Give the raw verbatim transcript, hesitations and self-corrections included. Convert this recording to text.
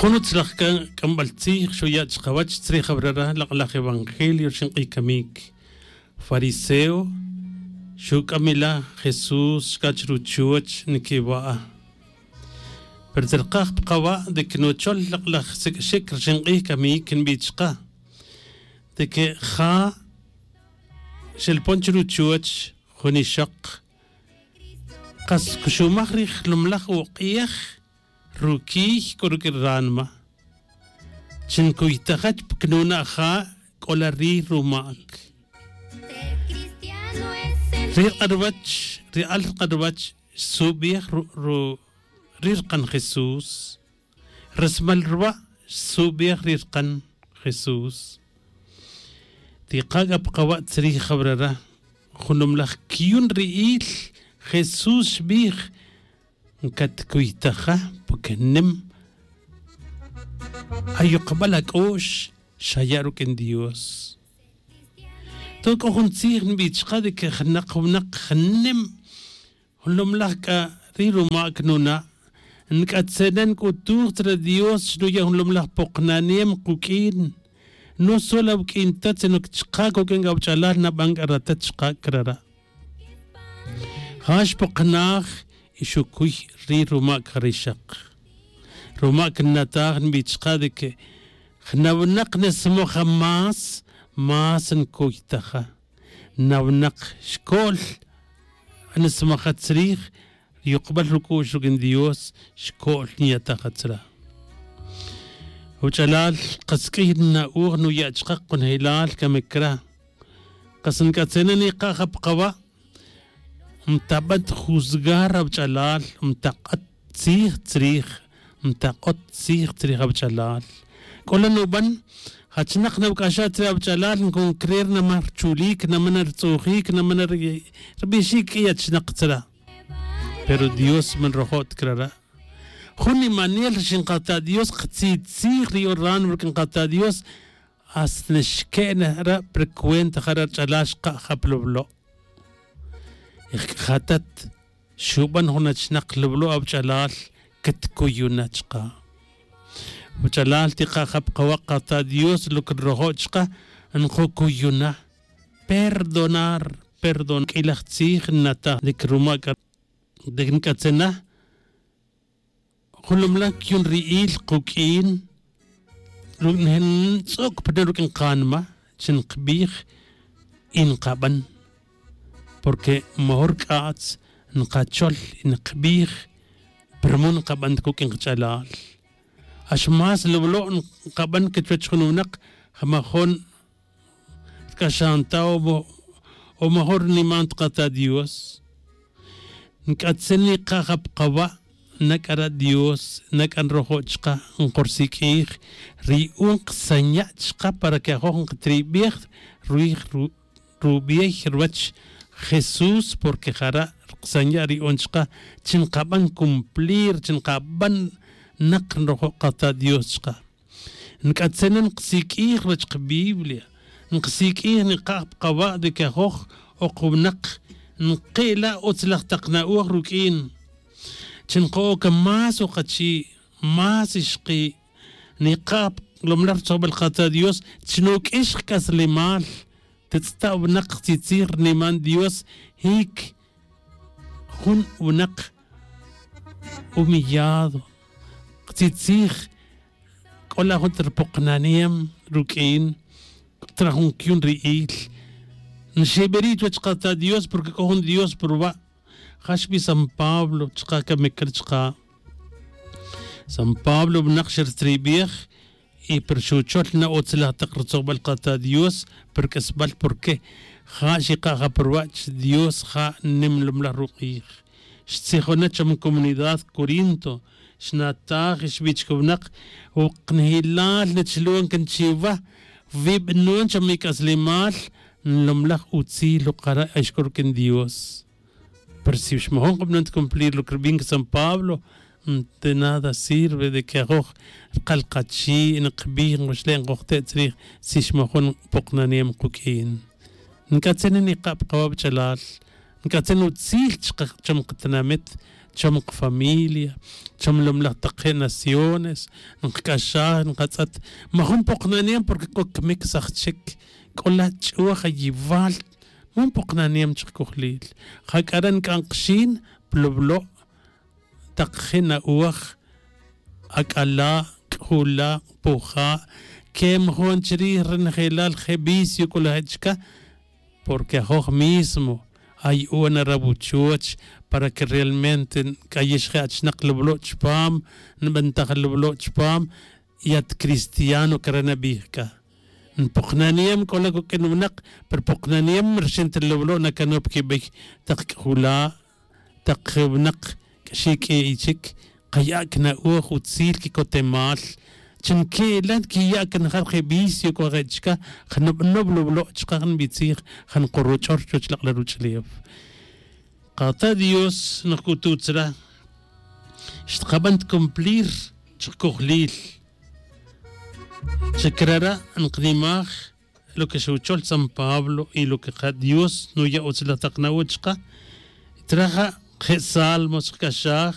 Jun utzlaj c'ambal tzij xuya' chkawech tzrij awarara' lak'laj evangelio rxin k'ij camic. Fariseo xuc'am ila jesús xca chruchuoch niquiwa'a. Pero tzerkaj pa kawa' de que nuchol lak'laj sic'xic rxin k'ij camic nbi chka de que ja xelpon chruchuoch jun ixok. Kas cuxumaj rij jlumlaj uk'ej ruquiy c'o ruq'ui ranma. Chi ncuytaja chi pa cnuna' ja c'o la ri rumac. Ri rk'arwach ri al rk'arwach xsubej ri rkan jesús. Resmal rwa' xsubej ri rkan jesús. Tika' c'a pa kawa' tzrij jawarara' junumlaj quiyun ri'il jesús xbij. Ncatcuytaja porque nim ayukbal ac'u'x xaya' ruq'uin dios. Toc'o jun tzij nbi chka de que jnak winak jnim junlomlaj c'a ri rumac nuna'. Nc'atzena nc'utuj tzre dios xnuya' junlomlaj poknaniem kuq'uin. No solo awuq'uin ta sino que chka coq'uin c'a awach'alal naban c'a ratat chka' crara'. Ja xpoknaj y xucuy ri rumac ja rixak. Rumac nnataj nbi chka de que jna winak nismoja más más ncuytaja. Na winak xco'l nismaja tzrij ri yukbal ruc'u'x ruq'uin dios. Xco'l nyataja tzra' wach'alal. Kas q'uiy nna'oj nuya' chka kunjelal camic cra. Kas nc'atzena nika' ja pa kawa'. Mtaban ta juzgar awach'alal mtak'ot tzij tzrij. Mtak'ot tzij tzrij awach'alal. C'o la nuban jachnak nawac'axaj tzre awach'alal ncon creer naman rchulic naman na rtz'ujic naman na rbixic q'uiy achnak tzra'. Pero dios man rojo' ta crara'. Jun nimanel rixin kata' dios ktzitzij ri yoran ruq'uin kata' dios. Hasta nixque'na ra' pa ri cuenta ja ra' rch'alal xka' ja pa lublo'. Y jc'ajatat xuban jun achnak lublo' awach'alal. Ctcuyuna chka' wach'alal tika' ja pa kawa' kata' dios lo que nrojo' chka' nkucuyuna. Perdonar perdon q'uilaj tzij nnataj de que rumac c'a de que nc'atzena junlomlaj quiyun ri'il kuq'uin. Rutz'uc pa ne ruq'uin kanma chi nkbij y nkaban. Porque majun rc'atz nkachol y nkbij. Pero man nkaban ta cuq'uin kach'alal ax más lublo' nkaban que chuwech jun winak. Majun rc'axan ta o majun rniman ta kata' dios. Nc'atzin nika' ja pa kawa' nac'ara' dios nac'a nrojo' chka nkorsiq'uij. Ri un ksanya' chka para que ajoj nkatribej ruij rubiey ruwech jesús porque jara' rksanya' ri un chka chi nkaban cumplir chi nkaban. Nak nrojo' kata' dios chka. Nc'atzena nksiq'uij ruwech kabiblia. Nksiq'uij nika' pa kawa' de que ajoj ok winak nki' la utz laj tak na'oj ruq'uin. Chi nka-oc más ukachi' más ixki'. Nika' pa lomlaj rutzojbal kata' dios chi nuq'uix kc'aslemal. Titz'ta' winak ktzitzij rniman dios. Jic jun winak humillado. Ktzitzij c'o la jun ta ripoknaniem ruq'uin. C'o ta la jun quiyun ri'il. Nxiberi' chuwech kata' dios porque c'o jun dios pa ruwa'. Ja xbi san pablo chka camic cra chka. San pablo winak xertribej y pero xuchol na utz laj tak rutzojbal kata' dios. Pero q'uesbal porque ja xika' ja pa ruwa' chi dios ja nimlom laj ruk'ij. Xtzijona cham comunidad corinto. Xnataj y xbi chka winak woknejilal nachilon can chiwa. Wi banon cham ic'aslemal nlom laj utzil ukara' axk'o ruq'uin dios. Pero si xmajon kabanon ta cumplir lo que rbin san pablo. De nada sirve de que ajoj rkal kachi' nkbij nkuxle' nkojte' tzrij si xmajon poknaniem kuq'uin. Nc'atzin nika' pa kawa' wach'alal. Nc'atzin utzil chka cham katinamit. chom kafamilia, chom lomlaj taq je' naciones. Nkac'axaj nkatz'et majun poknaniyem porque k'o cmic saj chic, c'o la' ch'uaj ayival. Majun poknaniyem chkojlil. Ja c'a re nc'an kxin ploblo' taq je' na'oj, ac'ala', c'ula', poja', que majun chrij renejelal je' vicio c'o la' je' chca. Porque ajoj mismo ay u'an arabuchoch para que realmente nc'ayix je' achnak loblo' chpam, nbantaj loblo' chpam. Y at cristiano cre nabij c'a npoknaniyem c'o la' cuq'uin winak, pero poknaniyem rxin ta loblo' nacanop quibey tak c'ujula', tak winak q'uixi q'ui' chic, kaya' cna'oj utzil quicotemal. Chi nque'la' nquiya' canajar je' vicio cua je' chica. Janobnob loblo' chka janbitzij, jan kuroch'or chuwech lak'la' ruch'ulef. Kata' dios nokututz ra xtkaban tcumplir chkojlil. Chacrara' nknimaj lo que xuchol san pablo y lo que ka dios nuya' utzilaj tak na'oj chka. Traja je' salmo xkac'axaj.